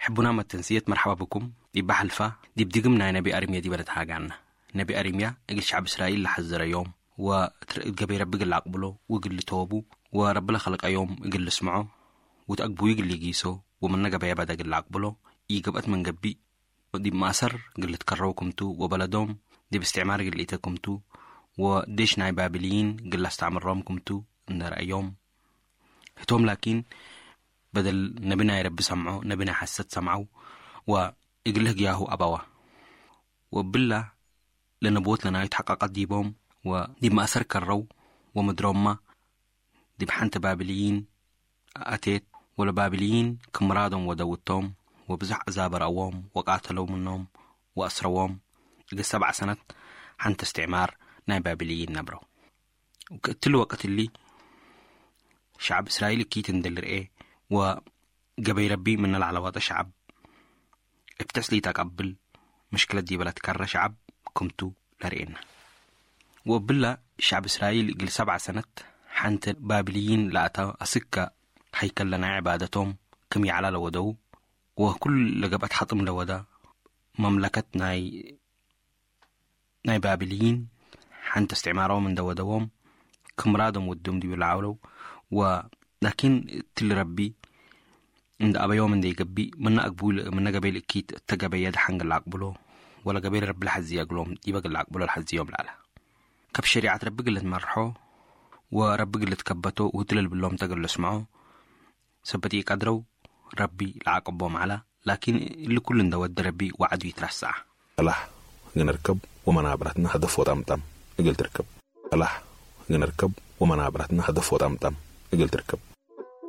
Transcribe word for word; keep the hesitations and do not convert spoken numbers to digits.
ሕቡና መተንስየት መርሐባ ብኩም። ዲብ በሐልፋ ዲብ ድግም ናይ ነቢ አርምየ ዲበ ነትሃጋነ። ነቢ አርምያ እግል ሸዕብ እስራኤል ለሐዘረ ዮም ወትር-፣ እት ገበይ ረቢ እግል ለአቅብሎ ወእግል ልቶቡ ወረቢ ለከልቀ ዮም እግል ልስምዖ ወትአግቡዩ እግል ሊጊሶ ወምነ ገበየ በደ እግል ለአቅብሎ ኢገብአት ምን ገብእ ዲብ ማእሰር እግል ልትከረው ክምቱ ወበለዶም ዲብ እስትዕማር እግል ልኢተ ክምቱ ወዴሽ ናይ ባብልይን እግል ለአስተዕምሮም ክምቱ እንደ ረአዮም። ህቶም ላኪን፣ በደል ነቢ ናይ ረቢ ሰምዖ፣ ነቢ ናይ ሐሰት ሰምዐው፣ ወእግል ህግያሁ አበዋ። ወእብላ ለነብወት ለናዩ ተሐቀቀት ዲቦም፣ ወዲብ ማእሰር ከረው፣ ወምድሮምመ ዲብ ሐንተ ባብልይን አቴት፣ ወለባብልይን ክም ምራዶም ወደው እቶም፣ ወብዞሕ አዛብ ረአዎም፣ ወቃተለው ምኖም፣ ወአስረዎም። እግል ሰብዐ ሰነት ሐንተ እስትዕማር ናይ ባብልይን ነብረው። ወክእትሊ ወቅት እሊ፣ ሸዐብ እስራኤል እኪት እንዴ ልርኤ ወገበይ ረቢ ምነ ለዐለዋጠ ሸዐብ እብ ተስሊት አቀብል ምሽክለት ዲበ ለትከረ ሸዐብ ክምቱ ለርኤነ። ወእብለ ሸዐብ እስራኤል እግል ሰብዐ ሰነት ሐንተ ባብልይን ለአተ አስከ ሀይከል ለናይ ዕባደቶም ክም ይዐላ ለወደው ወኩል ለገብአት ሐጥም ለወደ መምለከት ናይ ናይ ባብልይን ሐንተ እስትዕማሮም እንደ ወደዎም፣ ክም ምራዶም ወዶም ዲቡ ለዐውለው፣ ወላኪን እትሊ ረቢ እንደ አበዮም እንደ ኢገብእ፣ ምነ አግቡይ ለ-፣ ምነ ገበይ ልእኪት እተ ገበየ ደሐን እግል ለአቅብሎ፣ ወለገበይ ለረቢ ለሐዝየ እግሎም ዲበ እግል ለአቅብሎ ለሐዝዮም ለዐለ። ከብ ሸሪዐት ረቢ እግል ልትመርሖ፣ ወረቢ እግል ልትከበቶ፣ ወህቱ ለልብሎም ተ እግል ልስምዖ፣ ሰበት ኢቀድረው ረቢ ለዐቅቦም ዐለ። ላኪን እሊ ኩሉ እንደ ወደ ረቢ ወዐዱ ኢትረሰዐ። ሰላሕ እግል ንርከብ ወመናብረትነ ሀደፍ ወጠምጠም እግል ትርከብ። ሰላሕ እግል ንርከብ ወመናብረትነ ሀደፍ ወጠምጠም እግል ትርከብ።